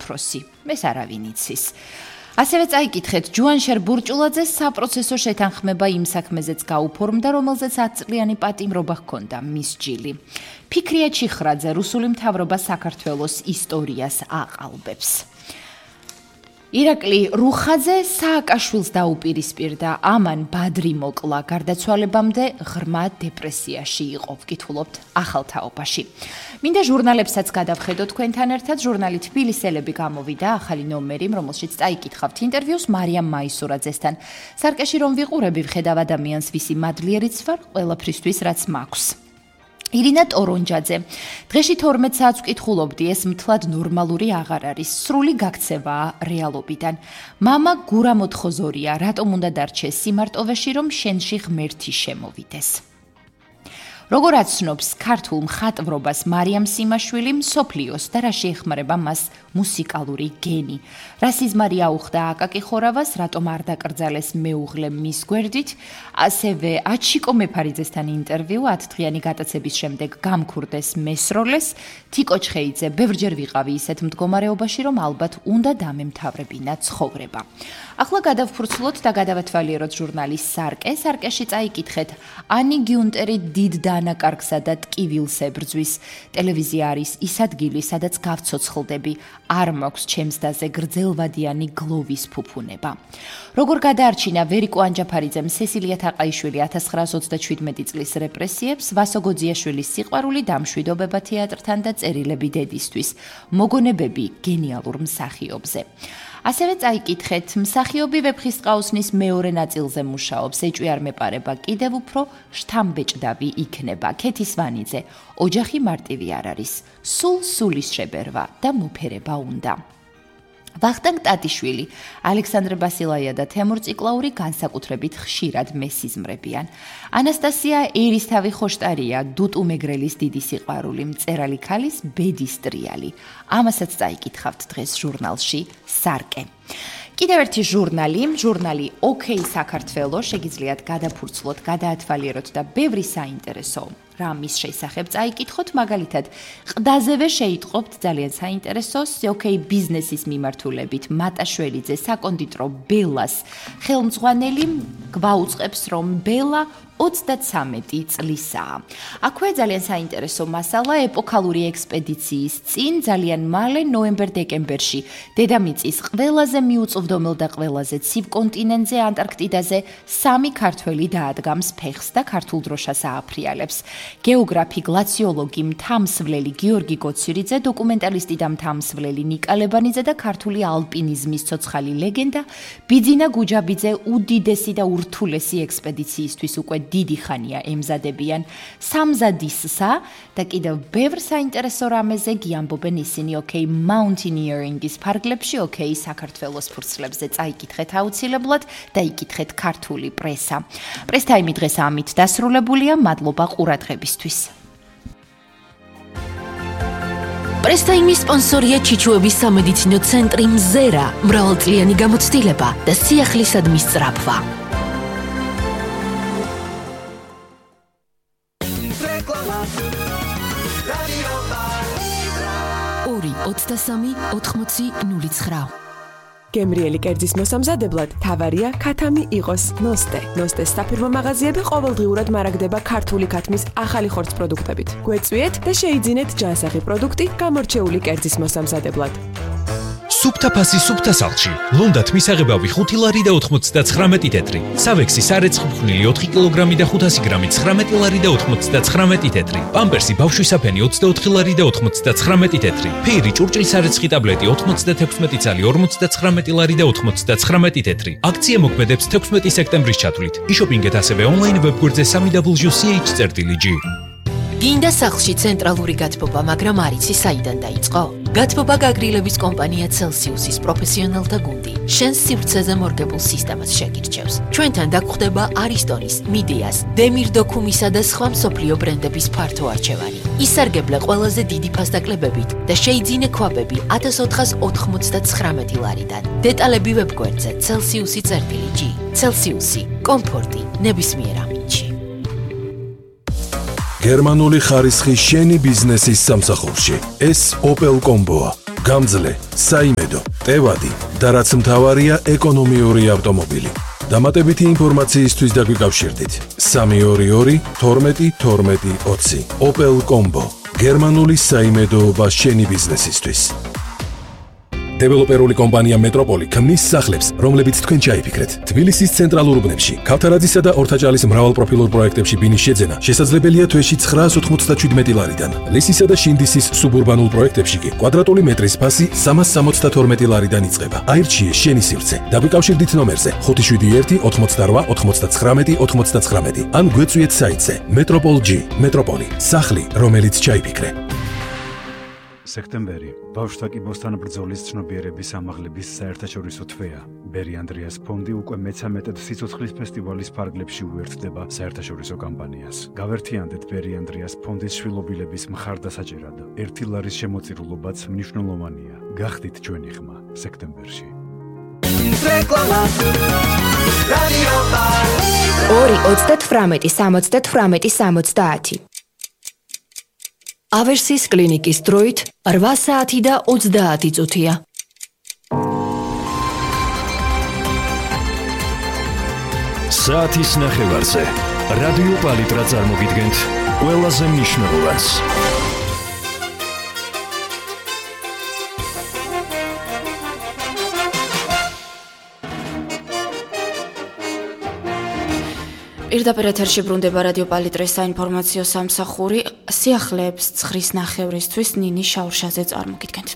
უფროსი. ეს არავინ იცის. ასევე წაიკითხეთ ჯუანშერ ბურჭულაძეს საპროცესო შეთანხმება იმ საქმეზეც გაუფორმდა, რომელზეც 10 წლიანი პატიმრობა ჰქონდა მის ჯილი. ფიქრია ჩიხრაძე რუსული მთავრობა საქართველოს ისტორიას აყალბებს. ირაკლი რუხაძე სააკაშვილს დაუპირისპირდა, ამან ბადრი მოკლა, გარდაცვალებამდე ღრმა დეპრესიაში იყო, ვკითხულობთ ახალ თაობაში. მინდა ჟურნალებსაც გადავხედოთ თქვენთან ერთად, ჟურნალი თბილისელები გამოვიდა ახალი ნომერი, რომელშიც წაიკითხავთ ინტერვიუს მარიამ მაისურაძესთან. სარკეში რომ ვიყურები, ვხედავ ადამიანს, ვისი მადლიერიც ვარ ყველაფრისთვის, რაც მაქვს. ირინა ტორონჯაძე. დღეში 12 საათს ვკითხულობდი, ეს მთლად ნორმალური აღარ არის, სრული გაქცევაა რეალობიდან. მამა გურა მოთხოზორია, რატომ უნდა დარჩეს სიმარტოვეში, რომ შენში ღმერთი შემოვიდეს. როგორ აცნობს ქართულ მხატვრობას მარიამ სიმაშვილი მსოფლიოს და რა შეეხმარება მას მუსიკალური გენი. რა სიზმარი აუხდა აკაკი ხორავას, რატომ არ დაკრძალეს მეუღლე მის გვერდით, ასევე აჩიკო მეფარიძესთან ინტერვიუ 10 დღიანი გატაცების შემდეგ გამქურდეს მესროლეს, თიკო ჩხეიძე, ბევრჯერ ვიყავი ისეთ მდგომარეობაში, რომ ალბათ უნდა დამემთავრებინა ცხოვრება. ახლა გადავფურცლოთ და გადავათვალიეროთ ჟურნალის სარკე. სარკეში წაიკითხეთ ანი გიუნტერი დიდ დანაკარგსა და ტკივილს ებრძვის. ტელევიზია არის ის ადგილი, სადაც გავცოცხლდები, არ მაქვს ჩემს დაზე გრძელვადიანი გლოვის ფუფუნება. როგორ გადაარჩინა ვერიკო ანჯაფარიძემ სესილია თაყაიშვილი 1927 წლის რეპრესიებს, ვასო გოძიაშვილის სიყვარული, დამშვიდობება თეატრთან და წერილები დედისთვის, მოგონებები გენიალურ მსახიობზე. ასევე წაიკითხეთ, მსახიობი ვეფხისტყაოსნის მეორე ნაწილზე მუშაობს, ეჭვი არ მეპარება, კიდევ უფრო შთამბეჭდავი იქნება. ქეთი სვანიძე, ოჯახი მარტივი არ არის, სულ სულის შებერვა და მოფერება უნდა. ვახტანგ ტატიშვილი, ალექსანდრე ბასილაია და თემურ ციკლაური განსაკუთრებით ხშირად მესიზმრებიან. ანასტასია ერისთავი ხოშტარია, დუტუ მეგრელის დიდი სიყვარული, მწერალი ქალის ბედის ტრიალი. ამასაც წაიკითხავთ დღეს ჟურნალში სარკე. კიდევ ერთი ჟურნალი ოკეი საქართველო, შეგიძლიათ გადაფურცლოთ, გადაათვალიეროთ და ბევრი საინტერესო რამის შესახებ წაიკითხოთ, მაგალითად, ყდაზევე შეიტყობთ ძალიან საინტერესოს ოკეი ბიზნესის მიმართულებით, მატაშველიძე საკონდიტრო ბელას ხელმძღვანელი გვაუწყებს, რომ ბელა 33 წლისაა. აქვე ძალიან საინტერესო მასალა ეპოქალური ექსპედიციის წინ ძალიან მალე ნოემბერ-დეკემბერში დედამიწის ყველაზე მიუწვდომელ და ყველაზე ცივ კონტინენტზე ანტარქტიდაზე 3 ქართველი დაადგამს ფეხს და ქართულ დროშას ააფრიალებს. გეოგრაფი, გლაციოლოგი, მთამსვლელი გიორგი გოცირიძე, დოკუმენტალისტი და მთამსვლელი ნიკა ლებანიძე და ქართული ალპინიზმის ცოცხალი ლეგენდა ბიძინა გუჯაბიძე უდიდესი და ურთულესი ექსპედიციისთვის უკვე დიდი ხანია ემზადებიან სამზადისსა და კიდევ ბევრ საინტერესო რამეზე გიამბობენ ისინი ოკეი მაუნტინიერინგის ფარგლებში, ოკეი საქართველოს ფურცლებზე წაიკითხეთ აუცილებლად და იკითხეთ ქართული პრესა. პრესტაიმი დღეს ამით დასრულებულია, მადლობა ყურადღებისთვის. პრესტაიმის სპონსორია ჩიჩუების სამედიცინო ცენტრი მზერა, მრავალწლიანი გამოცდილება და სიახლისადმის სწრაფვა. 2-23-80-09. გემრიელი კერძის მოსამზადებლად თავარია ქათამი იყოს ნოსტე. ნოსტეს საფირმო მაღაზიები ყოველდღიურად მარაგდება ქართული ქათმის ახალი ხორცს პროდუქტებით. გვეწვიეთ და შეიძინეთ ჯანსაღი პროდუქტი გამორჩეული კერძის მოსამზადებლად. სუფთა ფასი სუფთა სახლში. ლუნდათ მისაღებავი 5 ლარი და 99 თეთრი. სავექსი სარეცხმხვნილი 4 კილოგრამი და 500 გრამი 19 ლარი და 99 თეთრი. პამპერსი ბავშვის საფენი 24 ლარი და 99 თეთრი. ფეირი ჭურჭლის სარეცხი ტაბლეტი 96 წალი 59 ლარი და 99 თეთრი. აქცია მოქმედებს 16 სექტემბრის ჩათვლით. იშოპინგეთ ასევე ონლაინ ვებგვერდზე www.ch.gr. გინდა სახლში ცენტრალური გათბობა, მაგრამ არ იცი საიდან დაიწყო? გათბობა გაგრილების კომპანია Celsius-ის პროფესიონალთა გუნდი შენს სივრცეზე მორგებულ სისტემას შეგირჩევს. ჩვენთან დაგხვდება Aristonis, Mideas, Demir Documisa და სხვა მსოფლიო ბრენდების ფართო არჩევანი. ისარგებლე ყველაზე დიდი ფასდაკლებებით და შეიძინე ქვაბები 1499 ლარიდან. დეტალები ვებგვერდზე Celsius.gr. Celsius-ი, კომფორტი ნებისმიერ ამინდში. გერმანული ხარისხი შენი ბიზნესის სამსახურში. ეს Opel Combo-ა. გამძლე, საიმედო, ტევადი და რაც მთავარია ეკონომიური ავტომობილი. დამატებითი ინფორმაციისთვის დაგვიკავშირდით 322 12 12 20. Opel Combo. გერმანული საიმედოობა შენი ბიზნესისთვის. დეველოპერული კომპანია მეტროპოლი ქმნის სახლებს, რომლებიც თქვენ ჩაიფიქრეთ. თბილისის ცენტრალურ უბნებში, ქავთარაძისა და ორთაჭალის მრავალპროფილურ პროექტებში ბინის შეძენა შესაძლებელია თვეში 997 ლარიდან. ლისისა და შინდისის სუბურბანულ პროექტებში კი კვადრატული მეტრის ფასი 372 ლარიდან იწყება. აირჩიე შენი სივრცე. დაგვიკავშირდით ნომერზე 571 88 99 99 ან გვეწვიეთ საიტზე Metropol.G. მეტროპოლი, სახლი, რომელიც ჩაიფიქრე. სექტემბერი ბავშვთა კიბოსთან ბრძოლის ცნობიერების ამაღლების საერთაშორისო თვეა. ბერი ანდრიას ფონდი უკვე მე-13 სიცოცხლის ფესტივალის ფარგლებში უერთდება საერთაშორისო კამპანიას. გავერთიანდეთ ბერი ანდრიას ფონდის შვილობილების მხარდასაჭერად. 1 ლარის შემოწირულობაც მნიშვნელოვანია. გახდით ჩვენი ხმა სექტემბერში. 2-38-70. ავერსის კლინიკის დროით 8 საათი და 30 წუთია. საათის ნახევარზე რადიო პალიტრა წარმოგიდგენთ ყველაზე მნიშვნელოვანს. პირდაპირ ეთერში ბრუნდება რადიო პალიტრას საინფორმაციო სამსახური. სიახლეებს ცხრის ნახევრისთვის ნინი შაურშაძე წარმოგიდგენთ.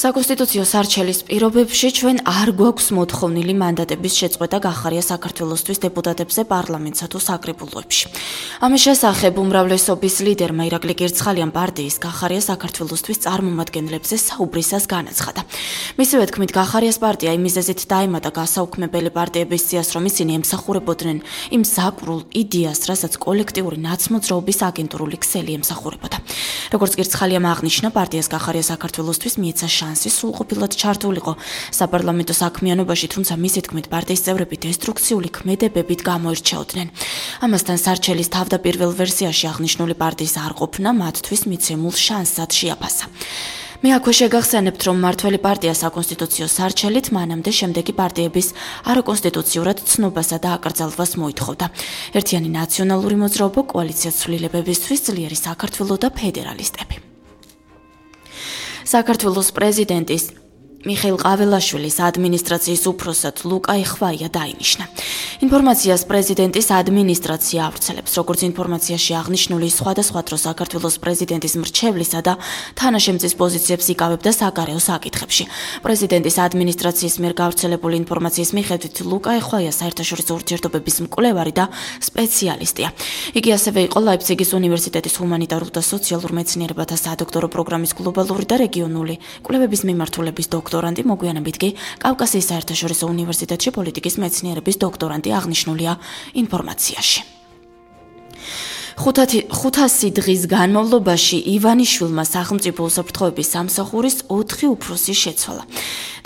საკონსტიტუციო სარჩელის პირობებში ჩვენ არ გვაქვს მოთხოვნილი მანდატების შეწყვეტა გახარია საქართველოსთვის დეპუტატებზე პარლამენტსა თუ საკრებულოებში. ამის შესახებ უმრავლესობის ლიდერმა ირაკლი კირცხალიან პარტიის გახარია საქართველოსთვის წარმომადგენლებზე საუბრისას განაცხადა. მისივე თქმით, გახარიას პარტია იმ მიზეზით დაემატა გასაუქმებელი პარტიების სიას, რომ ისინი ემსახურებოდნენ იმ საკრულ იდეას, რასაც კოლექტიური ნაცმოძრაობის აგენტურული ქსელი ემსახურებოდა. როგორც კირცხალიამ აღნიშნა, პარტიას გახარია საქართველოსთვის მიეცა შანსი სრულყოფილად ჩართულიყო საპარლამენტო საქმიანობაში, თუმცა მისი თქმით, პარტიის წევრები დესტრუქციული ქმედებებით გამოირჩეოდნენ. ამასთან სარჩელის თავდაპირველ ვერსიაში აღნიშნული პარტიის არყოფნა მათთვის მიცემულ შანსად შეაფასა. მე აქვე შეგახსენებთ, რომ მმართველი პარტია საკონსტიტუციო სარჩელით მანამდე შემდეგი პარტიების არაკონსტიტუციურად ცნობასა და აკრძალვას მოითხოვდა. ერთიანი ნაციონალური მოძრაობა, კოალიცია ცვლილებებისთვის, ძლიერი საქართველო და ფედერალისტები. საქართველოს პრეზიდენტის მიხეილ ყაველაშვილის ადმინისტრაციის უფროსად ლუკა ეხვაია დაინიშნა. ინფორმაციას პრეზიდენტის ადმინისტრაცია ავრცელებს, როგორც ინფორმაციაში აღნიშნული სხვადასხვა დროს საქართველოს პრეზიდენტის მრჩევლისა და თანაშემწის პოზიციებს იკავებდა საგარეო საკითხებში. პრეზიდენტის ადმინისტრაციის მიერ გავრცელებული ინფორმაციის მიხედვით ლუკა ეხვაია საერთაშორისო ურთიერთობების მკვლევარი და სპეციალისტია. იგი ასევე იყო ლაიფციგის უნივერსიტეტის ჰუმანიტარულ და სოციალურ მეცნიერებათა სადოქტორო პროგრამის გლობალური და რეგიონული კვლევების მიმართულების დოქტორანტი, მოგვიანებით კი კავკასიის საერთაშორისო უნივერსიტეტში პოლიტიკის მეცნიერების დოქტორანტი აღნიშნულია ინფორმაციაში. 500 დღის განმავლობაში ივანიშვილმა სახელმწიფო უსაფრთხოების სამსახურის 4 უფროსი შეცვალა.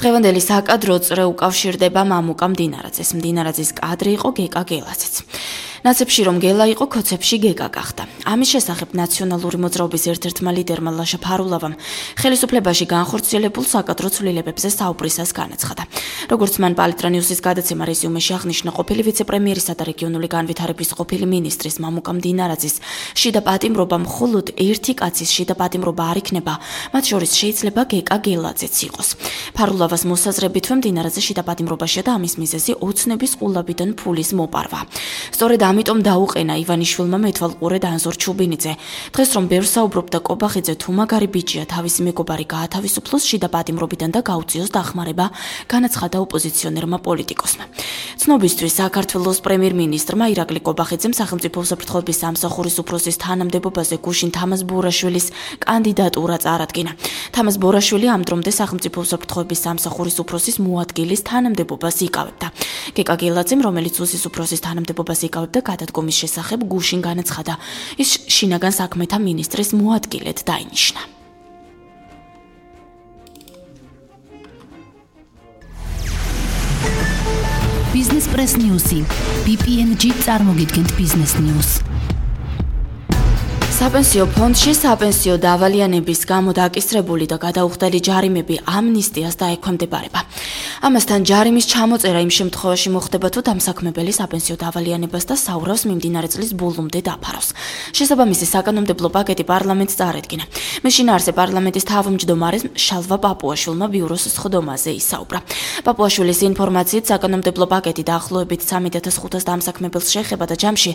დღევანდელი საკადრო წრე უკავშირდება მამუკა მდინარაძეს. მდინარაძის კადრი იყო გეკა გელაძეც. ნაცებში რომ გელა იყო, ქოცებში გეკა გახდა. ამის შესახებ ნაციონალური მოძრაობის ერთ-ერთმა ლიდერმა ლაშა ფარულავამ ხელისუფლებაში განხორციელებულ საკადრო ცვლილებებზე საუბრისას განაცხადა. როგორც მან პალიტრა ნიუსის გადაცემა რეზიუმეში აღნიშნა, ყოფილი ვიცე-პრემიერისა და რეგიონული განვითარების ყოფილი მინისტრის მამუკა მდინარაძის შიდა პატიმრობა მხოლოდ ერთი კაცის შიდა პატიმრობა არ იქნება, მათ შორის შეიძლება გეკა გელაძეც იყოს. ფარულავას მოსაზრებით, მდინარაძე შიდა პატიმრობაშია და ამის მიზეზი ოცნების ყულაბიდან ფულის მოპარვა. სწორედ ამიტომ დაუყენა ივანიშვილმა მეთვალყურე დანზორ ჩუბინიძე. დღეს რომ ბევრს საუბრობდა კობახიძე თუ მაგარი ბიჭია თავისი მეგობარი გაათავისუფლოს შიდა პატიმრობიდან და გაუწიოს დახმარება, განაცხადა ოპოზიციონერმა პოლიტიკოსმა. ცნობისთვის საქართველოს პრემიერ-მინისტრმა ირაკლი კობახიძემ სახელმწიფო უსაფრთხოების სამსახურის უფროსის თანამდებობაზე გუშინ თამაზ ბორაშვილის კანდიდატურა წარადგინა. თამაზ ბორაშვილი ამ დრომდე სახელმწიფო უსაფრთხოების სამსახურის უფროსის მოადგილის თანამდებობას იკავებდა. გეკა გელაძემ, რომელიც უსის უფროსის თანამდებობას იკავებდა, გადადგომის შესახებ გუშინ განაცხადა. ის შინაგან საქმეთა მინისტრის მოადგილედ დაინიშნა. Business Press News-ი BPNG წარმოგიდგენთ Business News. საპენსიო ფონდში საპენსიო დავალიანების გამო დაკისრებული და გადაუხდელი ჯარიმები ამნისტიას დაექვემდებარება. ამასთან ჯარიმის ჩამოწერა იმ შემთხვევაში მოხდება, თუ დამსაქმებელი საპენსიო დავალიანებას და საურავს მიმდინარე წლის ბოლომდე დაფარავს. შესაბამისი საკანონმდებლო პაკეტი პარლამენტს წარედგინა. მის შინაარსზე პარლამენტის თავმჯდომარეს შალვა პაპუაშვილმა ბიუროს სხდომაზე ისაუბრა. პაპუაშვილის ინფორმაციით საკანონმდებლო პაკეტი დაახლოებით 3500 დამსაქმებელს შეეხება და ჯამში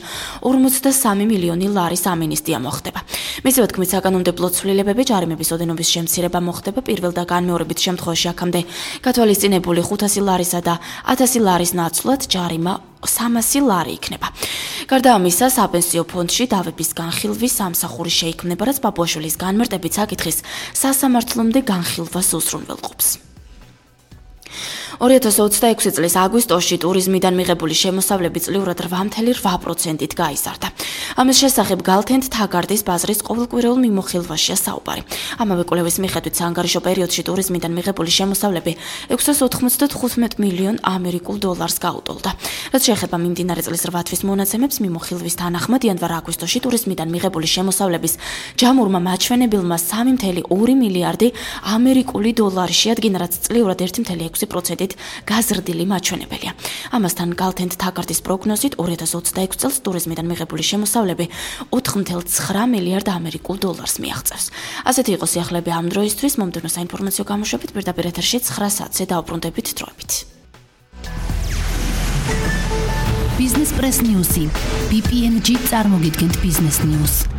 43 მილიონი ლარის ამინისტია მოხდება. მისივე თქმით, საკანონმდებლო ცვლილებები ჯარიმების ოდენობის შემცირება მოხდება პირველ და განმეორებით შემთხვევაში აქამდე გათვალისწინებული 500 ლარისა და 1000 ლარის ნაცვლად ჯარიმა 300 ლარი იქნება. გარდა ამისა, საპენსიო ფონდში დავების განხილვის სამსახური შეიქმნება, რაც პაპუაშვილის განმარტებით საკითხის სასამართლომდე განხილვას უზრუნველყოფს. 2026 წლის აგვისტოში ტურიზმიდან მიღებული შემოსავლები წლიურად 8.8%-ით გაიზარდა. ამის შესახებ გალთენთ თაგარდის ბაზრის ყოველკვირეულ მიმოხილვაშია საუბარი. ამავე კვლევის მიხედვით საანგარიშო პერიოდში ტურიზმიდან მიღებული შემოსავლები 695 მილიონ ამერიკულ დოლარს გაუტოლდა. რაც შეეხება მიმდინარე წლის 8 თვის მონაცემებს, მიმოხილვის თანახმად იანვარ-აგვისტოში ტურიზმიდან მიღებული შემოსავლების ჯამურმა მაჩვენებელმა 3.2 მილიარდი ამერიკული დოლარი შეადგინა, რაც წლიურად 1.6%-ით გაზრდილი მაჩვენებელია. ამასთან გალთენთ თაგარდის პროგნოზით 2026 წელს ტურიზმიდან მიღებული შემოსავლები 4.9 მილიარდ ამერიკულ დოლარს მიაღწევს. ასეთი იყო სიახლეები ამ დროისთვის. მომდევნო საინფორმაციო გამოშვებით პირდაპირ ეთერში 9 საათზე დაუბრუნდებით დროებით. Business Press News-ი. BPNG წარმოგიდგენთ Business News.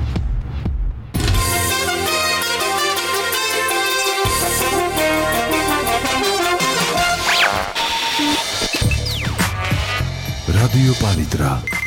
Radio Palitra.